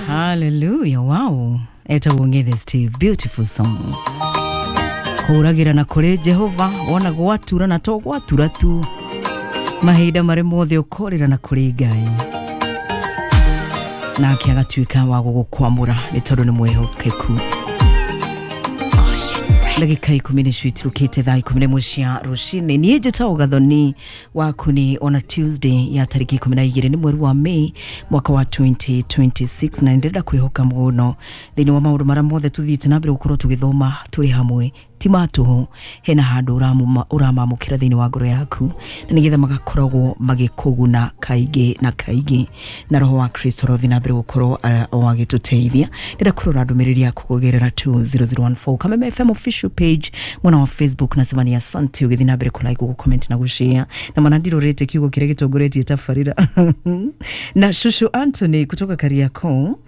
Hallelujah. Wow. Etagwo Ng'ethe Steve. Beautiful song. Kũũragĩra na kũrĩ Jehova wona gwatura na to gwatura tu mahinda marĩ mothe ũkorĩra na kũrĩ Ngai nake agatuĩka wa gũgũkwamũra nĩ tondũ nĩ mwĩhokeku. Ndagĩka 10 nĩcio itirũkĩte thaa 11 cia rũcinĩ. Niĩ njĩtagwo Gathoni waku nĩ ona Tuesday ya tarĩki 12 nĩ mweri wa May mwaka wa 2026, na nĩndĩrenda kwĩhoka mũno thĩinĩ wa maũndũ marĩa mothe tũthiĩte na mbere gũkorwo tũgĩthoma tũrĩ hamwe ti ma tũhũ, hena handũ ũramamũkĩra thĩinĩ wa ngoro yaku na nĩgetha magakoragwo magĩkũguna kaingĩ na kaingĩ, na roho wa Kristo arothi na mbere gũkorwo o agĩtũteithia. Ndĩrenda kũrora ndũmĩrĩri yaku kũgerera 20014 Kameme FM official page mwena wa Facebook. Nasema ni asante ũgĩthiĩ na mbere kũlike, gũcomment na gũshare, na mana ndirorete kiugo kĩrĩa gĩtongoretie tabarĩra. Na Shushu Anthony kutoka Kariakoo,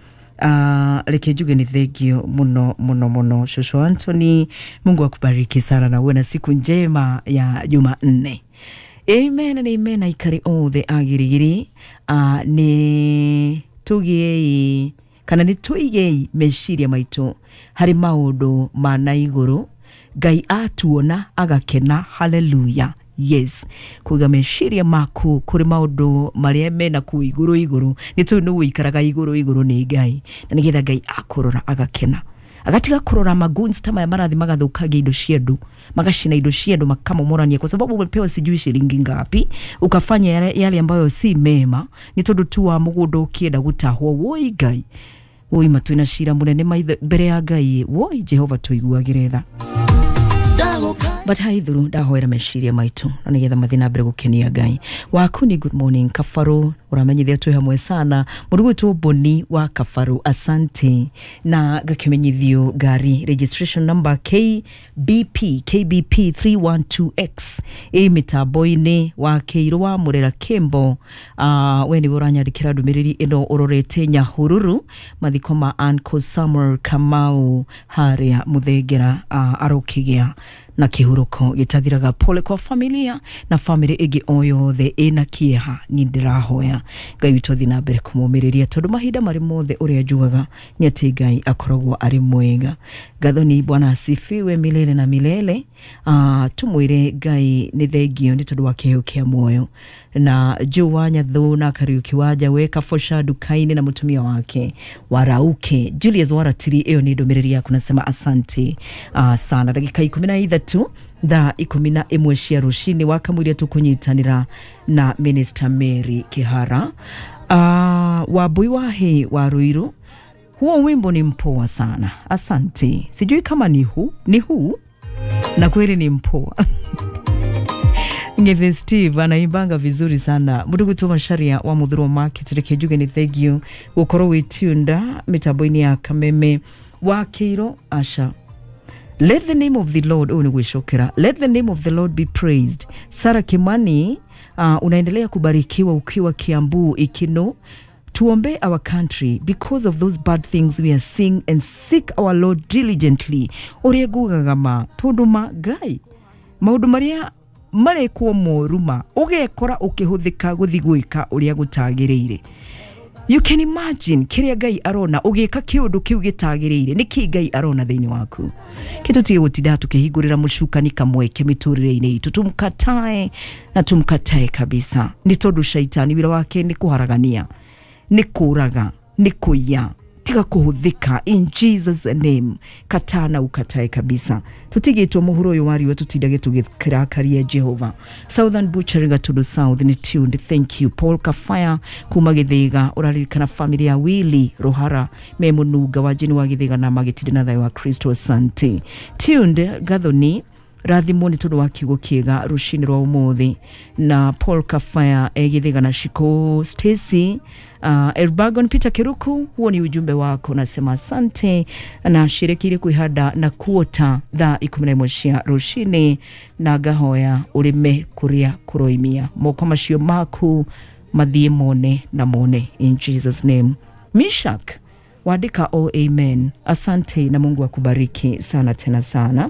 reke njuge ni thengio muno muno muno Shushu Anthony, Mungu akubariki sana na uwe na siku njema ya Jumanne. Amen and amen. Aikari othe a Girigiri, nĩ tũgĩei kana nĩ tũigei meciria maitũ harĩ maũndũ ma na igũrũ. Ngai atuona agakena. Haleluya. Yes, kuiga meciria maku kũrĩ maũndũ marĩa mena kũu igũrũ igũrũ, nĩ tũĩ nĩ ũikaraga igũrũ igũrũ nĩ Ngai, na nĩgetha Ngai akũrora agakena, agatiga kũrora magoons ta maya marathi magathũkangia indo cia andũ, magacina indo cia andũ, makamomorania kwa sababu umepewa sijui shilingi ngapi ukafanya yale, yale ambayo si mema nĩ tondũ tu wa mũgũnda ũkĩenda gũtahwo. Woi Ngai, woi, matwĩna cira mũnene maitho mbere ya Ngai. Woi Jehova, tũiguagĩre tha. But haithuru ndahoera meciria maitũ na nĩgetha mathiĩ na mbere gũkenia Ngai waku. Ni good morning Kabaru, ũramenyithia twĩ hamwe sana mũrugwĩtwo Boni wa Kabaru, asante. Na gakĩmenyithio ngari registration number KBP KBP 312X ĩ mĩtambo-inĩ wa Kĩirũ wa Mũrera Kĩmbo. We nĩwe ũranyandĩkĩra ndũmĩrĩri ĩno ũrorete Nyahururu, mathiko ma Uncle Samuel Kamau harĩa Mũthengera, arokĩgĩa na kĩhurũko gĩtathiraga. Pole kwa familia na famĩlĩ ĩngĩ o yothe ĩna kĩeha. Ni ndĩrahoya Ngai witũ athiĩ na mbere kũmũmĩrĩria tondũ mahinda marĩ mothe ũrĩa njugaga nĩ atĩ Ngai akoragwo arĩ mwega. Gathoni, Bwana asifiwe milele na milele. Tumwĩre Ngai nĩ thengio nĩ tondũ wa kĩheo kĩa muoyo. Na Joe wa Nyathũ na Kariuki wa Njawe Kabosha nduka-inĩ na mũtumia wake Warauke Julius Waratiri, ĩyo nĩ ndũmĩrĩri yaku, nasema asante sana. Ndagĩka 13 thaa 11 cia rũcinĩ wakamũiria tũkũnyitanĩra na Minister Mary Kihara. Wambui Wahe wa Ruiru, huo wimbo ni mpoa sana, asante. Sijui kama ni huu ni huu, na kweli ni mpoa. Ngethe Steve anaimbanga vizuri sana. Mudugutu Macharia wa Muthurwa Market, reke njuge nĩ thengio gũkorwo wĩ tunda mĩtambo-inĩ ya Kameme wa Kĩiro Asha. Let the name of the Lord, oh, ni gwĩcokera. Let the name of the Lord be praised. Sarah Kimani, unaendelea kubarikiwa ukiwa Kiambu Ikino. Tuombe our country because of those bad things we are seeing and seek our Lord diligently. Ũrĩa ngugaga ma tondũ ma Ngai maũndũ marĩa marekwo moru ma ũgekora ũkĩhũthĩka gũthi gwĩka ũrĩa gũtagĩrĩire. You can imagine kĩrĩa Ngai arona ũgĩka kĩũndũ kĩu gĩtagĩrĩire. Nĩ kĩ Ngai arona thĩinĩ waku? Kĩtũtige gũtinda tũkĩhingũrĩra mũcukani kamweke mĩtũrĩre-inĩ itũ. Tumkatae na tumkatae kabisa, nĩ tondũ shaitani wĩra wake nĩ kũharagania, nĩ kũraga, nĩ kũiya. Tiga kũhũthĩka in Jesus name. Kataa na ukatae kabisa. Tutigĩtwo mũhuro ũyũ wa riũa tutindage tũgĩkĩrakaria Jehova. Southern Butchery Gatundu South ni tuned, thank you. Paul Kafaya kuma Gĩthĩga, ũraririkana family ya Willy Rohara me mũnunga wa jini wa Gĩthĩga na magĩtinde na thayũ wa Kristo, asante. Tuned Gathoni, rathimwo nĩ tondũ wa kiugo kĩega rũcinĩ rwa ũmũthĩ. Na Paul Kafaya egĩthĩga na Shiko Stacy, Elbagon Peter Kiruku, huo ni ujumbe wako, nasema asante. Na shirikire kwihanda na kuota thaa 11 cia rũcinĩ na ngahoya ũrĩme kũrĩa kũroimia moko macio maku mathiĩ mone na mone in Jesus name. Mishak wandika, oh, amen, asante na Mungu akubariki sana tena sana.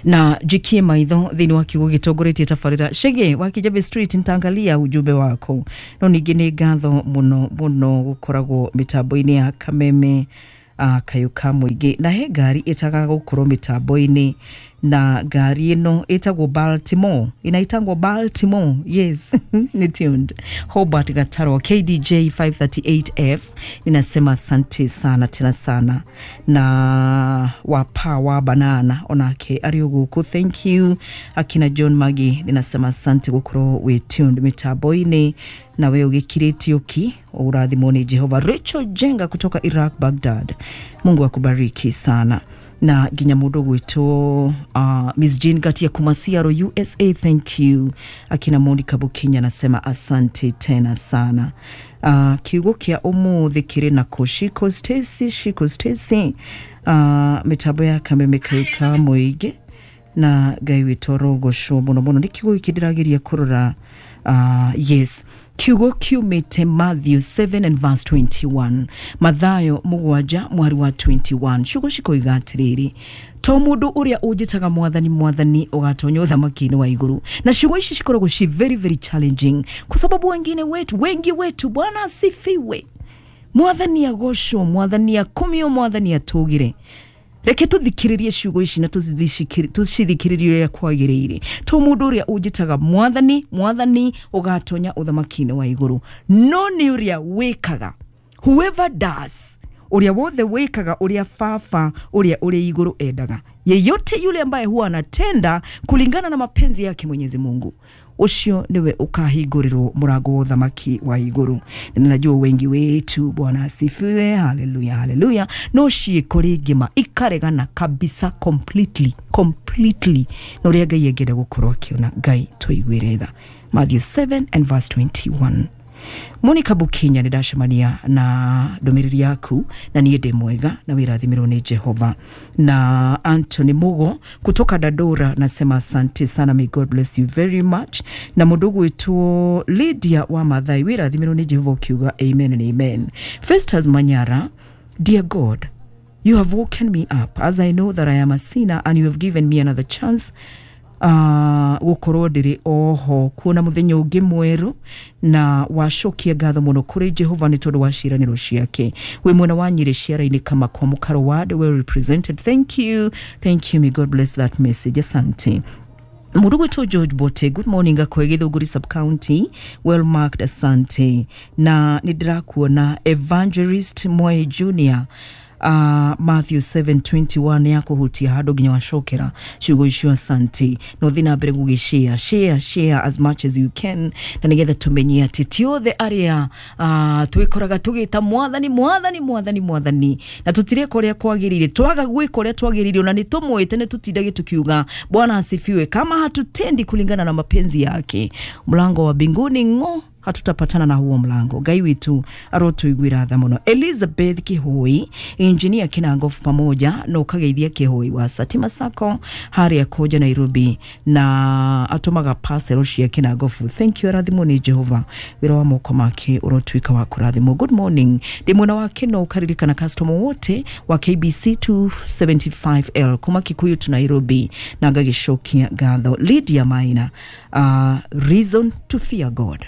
Na jikie maitho thĩinĩ wa kiugo gĩtongoretie tabarĩra Chege wa Kijabe Street, nitaangalia ujumbe wako. No ningĩ nĩ ngatho mũno mũno gũkoragwo mĩtambo-inĩ ya Kameme, kayũ ka mũingĩ, na he ngari ĩtagaga gũkorwo mĩtambo-inĩ, na ngari ĩno ĩtagwo Baltimore, inaitangwo Baltimore, yes, ni tuned. Hobart Gataro KDJ 538F, ninasema asante sana tena sana. Na wapa wa banana onake arĩ gũkũ, thank you. Akina John Magi, ninasema asante gũkorwo wĩ tuned mĩtambo-inĩ, na we ũgĩkirĩtio ki ũrathimwo nĩ Jehova. Rachel Jenga kutoka Iraq, Baghdad, Mungu akubariki sana. Na nginya mũndũ gwĩtwo Miss Jane Gatia kuma Seattle, USA, thank you. Akina Monica Bukinya, nasema asante tena sana. Kiugo kĩa ũmũthĩ kĩrĩ na kũ Shiko Stacy, Shiko Stacy, mĩtambo ya Kameme kayũ ka mũingĩ, na Ngai witũ arogocwo mũno mũno. Nĩ kiugo gĩkĩ ndĩrageria kũrora. Yes, kiugo kiumĩte Matthew 7 and verse 21, Mathayo 7 mwari wa 21. Ciugo cikoiga atĩrĩrĩ, to mũndũ ũrĩa ũnjĩtaga mwathani, mwathani, ũgatonya ũthamaki-inĩ wa igũrũ. Na ciugo ici cikoragwo ci very very challenging kwa sababu wengine wetu, wengi wetu, Bwana asifiwe, mwathani agocwo, mwathani akumio, mwathani atũgire. Reke tũthikĩrĩrie ciugo ici na tũcithikĩrĩrie ũrĩa kwagĩrĩire. To mũndũ ũrĩa ũnjĩtaga mwathani, mwathani, ũgatonya ũthamaki-inĩ wa igũrũ, no nĩ ũrĩa wĩkaga, whoever does, ũrĩa wothe wĩkaga ũrĩa baba ũrĩa ũrĩ igũrũ endaga. Yeyote yule ambaye huwa anatenda kulingana na mapenzi yake Mwenyezi Mungu, ũcio nĩwe ũkahingũrĩrwo mũrango wa ũthamaki wa igũrũ. Na najua wengi wetu, Bwana asifiwe, haleluya, haleluya, no ciĩko rĩngĩ ma ikaregana kabisa, completely, completely na ũrĩa Ngai angĩenda gũkorwo akĩona. Ngai tũiguĩre tha. Matthew 7 and verse 21. Monica Bukinya, nĩ ndacemania na ndũmĩrĩri yaku, na niĩ ndĩ mwega na wĩrathimĩrwo nĩ Jehova. Na Anthony Mugo kutoka Dadora, nasema asante sana, may God bless you very much. Na mũndũ gwĩtwo Lydia wa Mathai, wĩrathimĩrwo nĩ Jehova, ũkiuga amen and amen. Festus Manyara, dear God, you have woken me up as I know that I am a sinner and you have given me another chance gũkorwo ndĩrĩ oho kuona mũthenya ũngĩ mwerũ, na wacokia ngatho mũno kũrĩ Jehova nĩ tondũ wa ciĩranĩro ciake. Wĩ mwena wa Nyĩrĩ ciara-inĩ kama kwa Mũkaro ward, well represented, thank you, thank you, may God bless that message, asante. Mũndũ gwĩtwo George Bote, good morning, Gakoe Githũngũri sub county, well marked, asante. Na nĩ ndĩrakuona Evangelist Moe Junior, Matthew 7:21 ya kũhutia handũ nginya wacokera ciugo icio, asante. No thiĩ na mbere gũgĩ share, share, share as much as you can, na nĩgetha tũmenye atĩ ti othe arĩa twĩkoraga tũgĩta mwathani, mwathani, mwathani, mwathani, na tũtireka ũrĩa kwagĩrĩire. Twaga gwĩka ũrĩa twagĩrĩire, ona nĩ tũmwĩte, nĩ tũtindage tukiuga Bwana asifiwe, kama hatutendi kulingana na mapenzi yake, mlango wa mbinguni ng'o, hatutapatana na huo mlango. Ngai witu arotũiguĩra tha mũno. Elizabeth Kihoi, engineer Kinangofu, pamoja na ũkageithia Kihoi wa Satima Sacco harĩa Koja Nairobi, na atũmaga parcel cia Kinangofu, thank you, arathimwo nĩ Jehova, wĩra wa moko make ũrotuĩka wa kũrathimwo. Good morning, ndĩ mwena wa Kino, ũkaririkana customer wote wa KBC 275L kuma Kikuyu to Nairobi, na ngagĩcokia ngatho. Lydia Maina, reason to fear God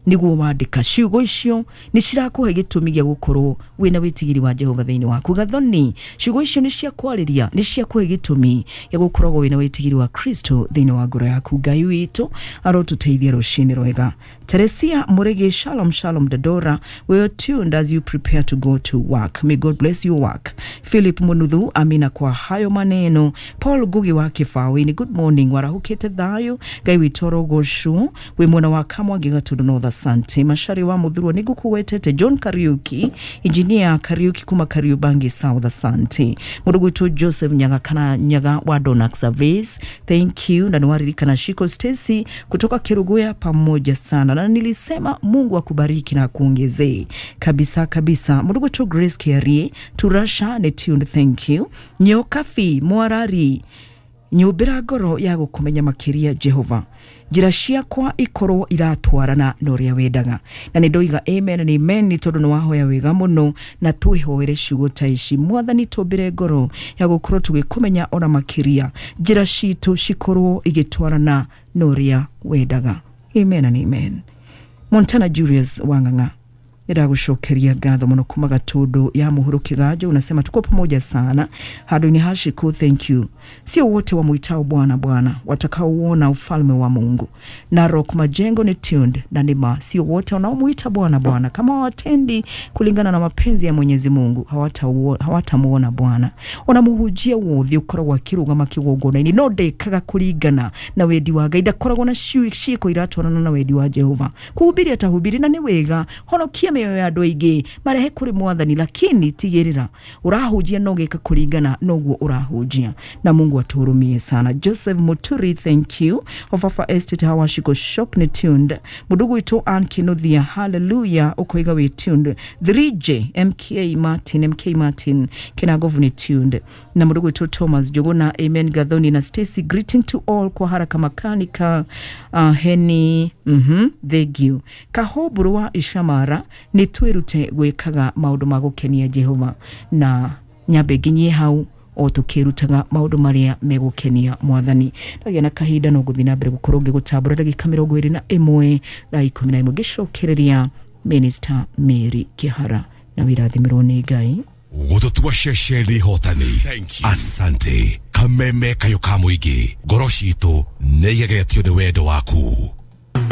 niguo wandĩka. Ciugo icio nĩ cirakũhe gĩtũmi gĩa gũkorwo wĩna wĩtigiri wa Jehova thĩinĩ waku. Gathoni, ciugo icio nĩ cia kwarĩria, nĩ ciakũhe gĩtũmi gĩa gũkoragwo wĩna wĩtigiri wa Kristo thĩinĩ wa ngoro yaku. Ngai witũ arotũteithia rũcinĩ rwega. Teresia Murege, shalom shalom Dadora, we are tuned as you prepare to go to work, may God bless your work. Philip Munuthu, amina kwa hayo maneno. Paul Gugi wa Kifawini, good morning, warahukite thayo, Ngai witũ arogocwo, wĩ mwena wa Kamwangi Gatundu North, asante. Mashari wa Muthurwa, nĩngũkũgwetete. John Kariuki, engineer Kariuki kuma Kariubangi South, asante. Mũndũ gwĩtwo Joseph Nyaga kana Nyaga wa Donax Service, thank you. Na nĩwaririkana Shiko Stacy kutoka Kiruguya, pamoja sana, na nilisema Mungu akubariki na akuongezee kabisa kabisa. Mũndũ gwĩtwo Grace Kiarie Turasha ne tuned, thank you. Nyokafi Mwarari. Nyũmbĩra ngoro ya gũkũmenya makĩria Jehova, njĩra ciakwa ikorwo iratwarana na ũrĩa wendaga. Na nĩ ndoiga amen and amen, nĩ tondũ nĩ wahoya wega mũno, na twĩhoere ciugo ta ici. Mwathani, tũmbĩre ngoro ya gũkorwo tũgĩkũmenya ona makĩria, njĩra citũ cikorwo igĩtwarana na ũrĩa wendaga. Amen and amen. Montana Julius Wang'ang'a, nĩndagũcokeria ngatho mũno kuma Gatundu ya Mũhuro Kĩganjo, unasema tuko pamoja sana handũ-inĩ ha Shiku. Thank you. Sio wote wamwitao Bwana Bwana watakaouona ufalme wa Mungu. Narok Majengo ni tuned na nima, sio wote wanaomuita Bwana Bwana, kama hawatendi kulingana na mapenzi ya Mwenyezi Mungu hawatamuona Bwana. Ona muhunjia wothe ukoragwo akirugama kigongona-inĩ no ndekaga kũringana na wendi wa Ngai, ndakoragwo na ciĩko iratwarana na wendi wa Jehova. Kuhubiri atahubiri na nĩ wega, honokia mĩoyo ya andũ aingĩ marehe kũrĩ Mwathani, lakini tigĩrĩra ũrahunjia no gĩka kũringana noguo ũrahunjia, na Mungu atuhurumie sana. Joseph Muturi, thank you. Ofafa Estate Hawashiko Shop ni tuned. Mudugu witũ Ann Kinuthia, hallelujah, ũkoiga wĩ tuned. 3J MK Martin, MK Martin Kinagovu ni tuned. Na mudugu witũ Thomas Jogona, amen. Gathoni na Stacy, greeting to all kwa haraka makanika heni thank you. Kahoburu wa Ishamara, nĩ twĩrute gwĩkaga maũndũ ma gũkenia Jehova, na nyambe nginyie hau o tũkĩrutaga maũndũ marĩa megũkenia Mwathani. Ndagĩa na kahinda no gũthiĩ na mbere gũkorwo ngĩgũtambũra ndagĩka 21 thaa 11 ngĩcokereria Minister Mary Kĩhara, na wĩrathimĩrwo nĩ Ngai. Gũtũtua ceceni hotani. Asante. Kameme kayũ ka mũingĩ, ngoro citũ nĩ igegetio nĩ wendo waku.